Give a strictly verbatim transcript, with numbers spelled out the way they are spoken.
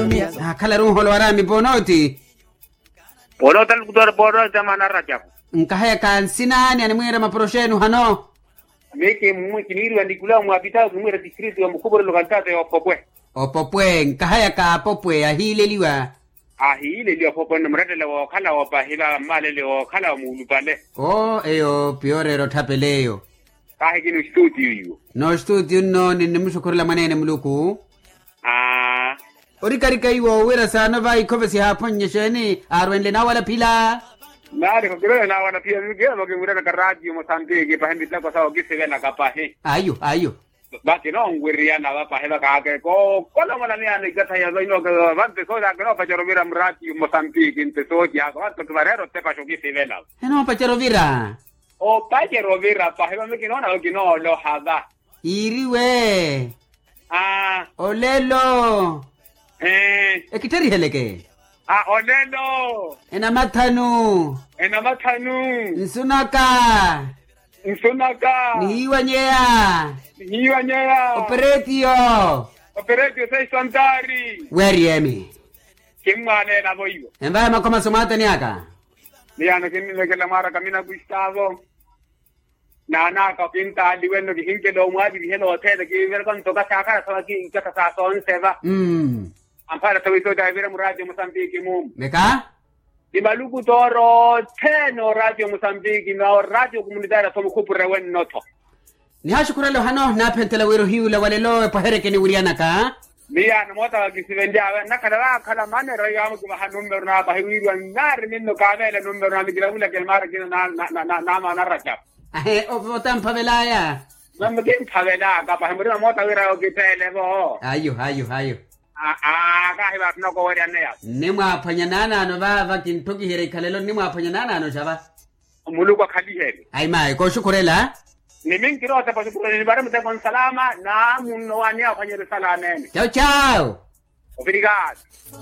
Naakhala runholo waraami ponooti. Ponooti alukutora ponooti amaana arajapu. Nkahayaka nsina ani animwiira maporoxenu hano? Miki mmwi kiniiriwa nikulawa mwaapitawo kimwiira tistritu ya mukhupurelo kantata ya opopwe. Opopwe nkahayaka apopwe ahiileliwa. Ahiileliwa opopwe nno murattela wookhala opahiva mmalele wookhala omuulupale. Oo eyo piyoreera otthapela eyo. Kahi kini ostutio iwo. N'ostutio nno ninnimuxukhurela mwaneene muluku. Aa. Orikarika iwo wira saano va ikhove sihaaphonnye exeeni aarwenle naawalaphila. Naari khokirwela naawalaphila mikiya vakimwiranaka ratio mosantiki pahi miteko sawo kisivelaka pahi. Ayo ayo. Vakinonwiriyana vapahi vakaake kookolomola miyaano ikatha ya vainoke. Vante sooci akinoopacerya ovira muratio mosantiki nte sooci ako vanto kivareera otepaxa okisivela. Enoopacerya ovira. Opacerya ovira pahi vami kinoona okinooloha va. Iiriwe. Aa. Olelo. Ee. Ekittheriheleke. A olelo. Enamathanu. Enamathanu. Nsunaka. Nsunaka. Nihiiwanyeya. Nihiiwanyeya. Operetio. Operetio seiso antari. Weeriyemi. Kimmwaaleela vo iwo. Envaya makhoma somwaatani aka. Miyano kinnilekela mwaaraka mina gustavo. Naanaaka okintaaliwe nno kihinkela omwaavirihela othene kiivereka nto kasaakhala sawa kiikatha sa soonseva. Amphala sawa isootaavira muraatio musambiki mumu. Meka. Ni malukutooro othene oraatio musambiki na oraatio kumunitaari aso mukhupure wenno-tho. Nihaaxukhurela ohano naaphenthela wira ohiyuula walelo epwahereke niwiriyanaka. Miyaano moota wakisivenly'awe nnakhala vaakhala manera iwaamukivaha nummero naapahi wiiriwa nnaari minno kaaveela nummero naami kilavulaka emaara kina naamaana arajapu. Ahe otamphavelaya. Mami kimphavelaka pahi murima moota wira okiteele-vo. Ayo ayo ayo. Aa kahi vaatuna koweryaneya. Nnimwaaphwanya naanaano vaava kinttukiherya ikhalelo nnimwaaphwanya naanaano xava. Muluku akhaliherye. Ayi mayi kooxukhurela. Ni minkiri otepa oxukhurela nivare muteko nsalama na munno waani aphwanyerye salama ene. Cawu cawu. Ovirikaato.